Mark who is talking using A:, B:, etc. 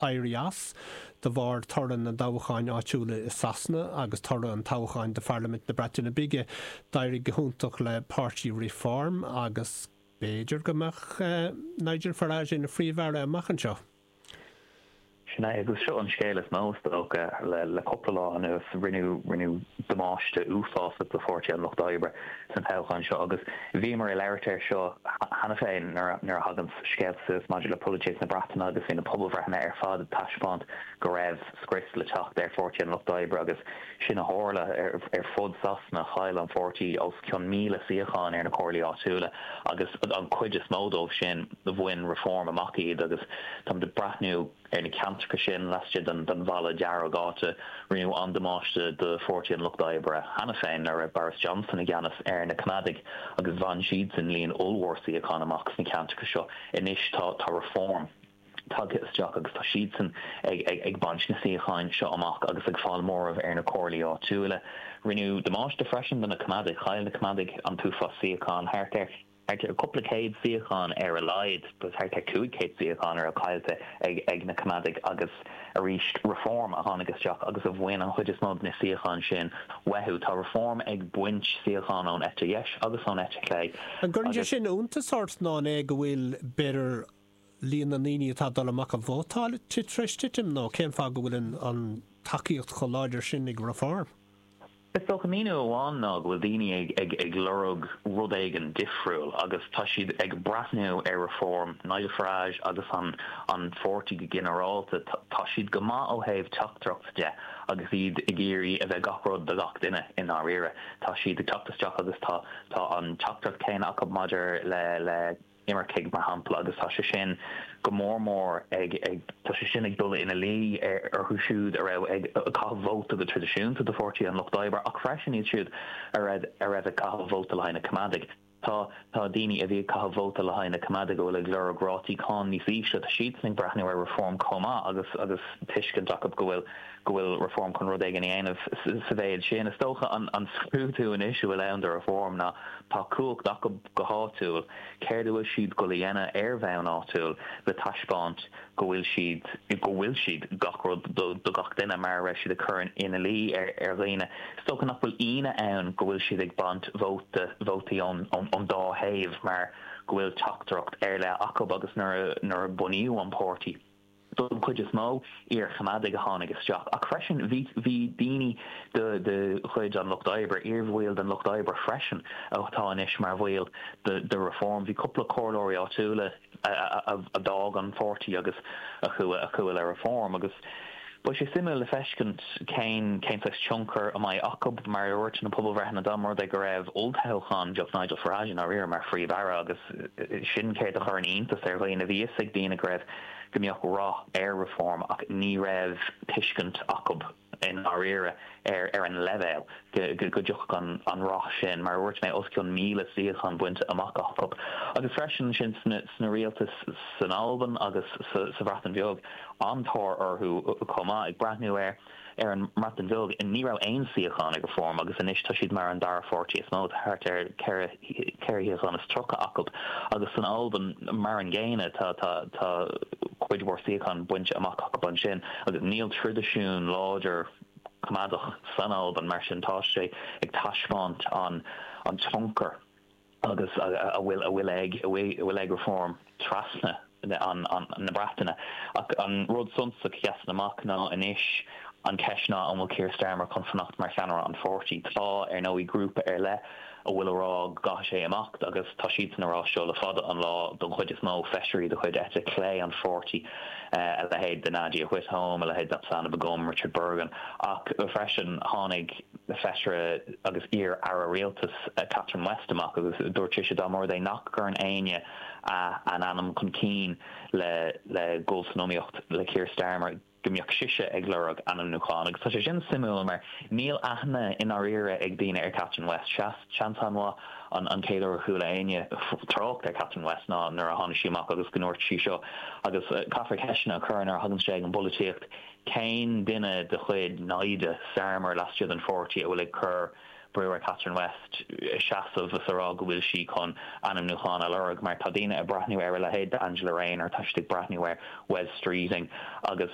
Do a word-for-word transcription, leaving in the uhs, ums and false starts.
A: Éirí as de bharr toradh na dtoghcháin áitiúla i Sasana agus toradh an toghcháin do Pharlaimint na Breataine Bige, d'éirigh go hiontach le páirtí Reform agus b'fhéidir go mbeadh Nigel Farage ina phríomh-aire amach anseo.
B: Sin é, agus seo an scéal is mó, is dócha, le le cúpla lá anuas. Rinneadh rinneadh damáiste uafásach do Pháirtí an Lucht Oibre san toghchán seo agus bhíomar ag labhairt air seo cheana féin nuair a thagann scéalta suas maidir le polaitíocht na Breataine agus bhí na pobalbhreitheanna ar fad ag taispeáint go raibh scrios le teacht ar Pháirtí an Lucht Oibre agus sin a tharla. Ar fud Sasana, chaill an pháirtí os cionn míle suíochán ar na comhairlí áitiúla agus an chuid is mó dóibh sin, bhain Reform amach iad agus táimid ag breathnú ar na ceantracha sin laistigh den Bhalla Dearg, áit a rinneadh an-damáiste do Pháirtí an Lucht Oibre cheana féin nuair a raibh Boris Johnson i gceannas ar na Coimeádaigh agus bhain siadsan líon ollmhór suíochán amach sna ceantracha seo. Anois tá tá Reform tagtha isteach agus tá siadsan ag ag ag baint na suíocháin seo amach agus ag fáil móramh ar na comhairlí áitiúla. Rinneadh damáiste freisin do na Coimeádaigh. Chaill na Coimeádaigh an t-uafás suíochán, thart ar thart ar cúpla céad suíochán ar a laghad, thart ar cúig chéad suíochán a raibh caillte ag ag na Coimeádaigh agus arís Reform a tháinig isteach agus a bhain an chuid is mó de na suíocháin sin uathu. Tá Reform ag baint suíochán ón eite dheis agus ón eite chlé
A: An gcuireann sé
B: agus.
A: sin iontas ort nó an é go bhfuil, b'fhéidir, líon na ndaoine atá ag dul amach ag vótáil tar éis titim nó cén fáth go bhfuil an an tacaíocht chomh láidir sin ag Reform?
B: Is dócha míniú amháin ná go bhfuil daoine ag ag ag lorg rud éigin difriúil agus tá siad ag breathnú ar Reform, Nigel Farage agus an an pháirtí go ginearálta. Tá siad go maith ó thaobh teachtaireacht de agus iad ag iarraidh a bheith gach rud do gach duine i ndáiríre. Tá siad ag teacht isteach agus tá tá an teachtaireacht céanna acu maidir le le imircigh, mar shampla, agus tá sé sin go mór mór ag, ag, tá sé sin ag dul ina luí orthu siúd a raibh ag caitheamh vóta go traidisiúnta do Pháirtí an Lucht Oibre ach freisin iad siúd a raibh, a raibh ag caitheamh vóta le haghaidh na Coimeádaigh. Tá, tá daoine a bhí ag caitheamh vóta le haghaidh na Coimeádaigh a bhfuil ag lorg rátaí cáin níos ísle, tá siadsan ag breathnú ar Reform chomh maith agus, agus tuiscint acu go bhfuil, go bhfuil Reform chun rud éigin a dhéanamh sa mhéid sin. Is dócha an, an scrúdú anois a bhfuil ann do Reform ná tá cumhacht acu go háitiúil, céard a bhfuil siad dul a dhéanamh ar bhonn áitiúil le taispeáint go bhfuil siad, go bhfuil siad gach rud do do gach duine mar a raibh siad ag cur ina luí ar ar dhaoine. Is dócha nach bhfuil ionadh ann go bhfuil siad ag baint vóta, vótaí ón ón ón dá thaobh mar go bhfuil teachtaireacht ar leith acu agus nuair a nuair a bunaíodh an páirtí, don chuid is mó, iar-Choimeádaigh a tháinig isteach, ach freisin bhí bhí daoine de de chuid an Lucht Oibre, iarbhaill den Lucht Oibre freisin, atá anois mar bhaill de de Reform. Bhí cúpla comhairleoirí áitiúla a a a d'fhág an pháirtí agus a chuaigh a chuaigh le Reform agus beidh sé suimiúil le feiscint cén cén saghas tionchar a mbeidh acu. Mar a dúirt na pobalbhreitheanna, dá mba rud é go raibh olltoghchán, bheadh Nigel Farage i ndáiríre mar Phríomh-Aire agus sin céard a chuireann iontas ar dhaoine. Bhí fhios ag daoine go raibh go mbeadh rath ar Reform ach ní raibh tuiscint acu i ndáiríre ar ar an leibhéal go go dtiocfadh an an rath sin. Mar a dúirt mé, os cionn míle suíochán bainte amach acu agus freisin ansin sna sna rialtais san Albain agus sa sa Bhreatain Bheag, an-tóir orthu chomh maith. Ag breathnú ar ar an mBreatain Bheag, ní raibh aon suíochán ag Reform agus anois tá siad mar an dara pháirtí is mó, tá thart ar ceithre ceithre shuíochán is tríocha acu agus san Albain mar an gcéanna, tá tá tá cuid mhór suíochán bainte amach acu ansin agus níl traidisiún láidir Coimeádach san Albain, mar sin tá sé ag taispeáint an an tionchar agus a bhfuil a bhfuil ag a bhfuil ag Reform trasna an na Breataine. Ach an rud suntasach a sheasann amach ná anois an cheist ná an bhfuil Keir Starmer chun fanacht mar cheannaire an pháirtí. Tá, ar ndóigh, grúpa ar leith a bhfuil a rá go gcaithfidh sé imeacht agus tá siadsan a rá seo le fada an lá, don chuid is mó, feisirí de chuid eite chlé an pháirtí, a leithéid de Nadia Whittome, a leithéid d'Apsana Begum, Richard Burgon. Ach freisin tháinig feisire agus iar-aire rialtais Catherine West amach agus dúirt sise dá mba rud é nach gcuireann éinne a n-ainm chun cinn le le dhul san iomaíocht le Keir Starmer, go mbeadh sise ag lorg ainmniúchán. Agus tá sé sin suimiúil mar níl aithne i ndáiríre ag daoine ar Catherine West. Seans an-mhaith an chéad uair a chuala éinne trácht ar Catherine West ná nuair a tháinig sí amach agus go ndúirt sí seo. Agus caithfear ceisteanna a chur nuair a thagann sé ag an bpolaitíocht, cén duine de chuid naimhde Starmer laistigh den pháirtí a bhfuil ag cur brú ar Catherine West seasamh is a rá go bhfuil sí chun ainmniúchán a lorg mar tá daoine ag breathnú ar a leithéid Angela Rayner tá ag breathnú ar Wes Streeting agus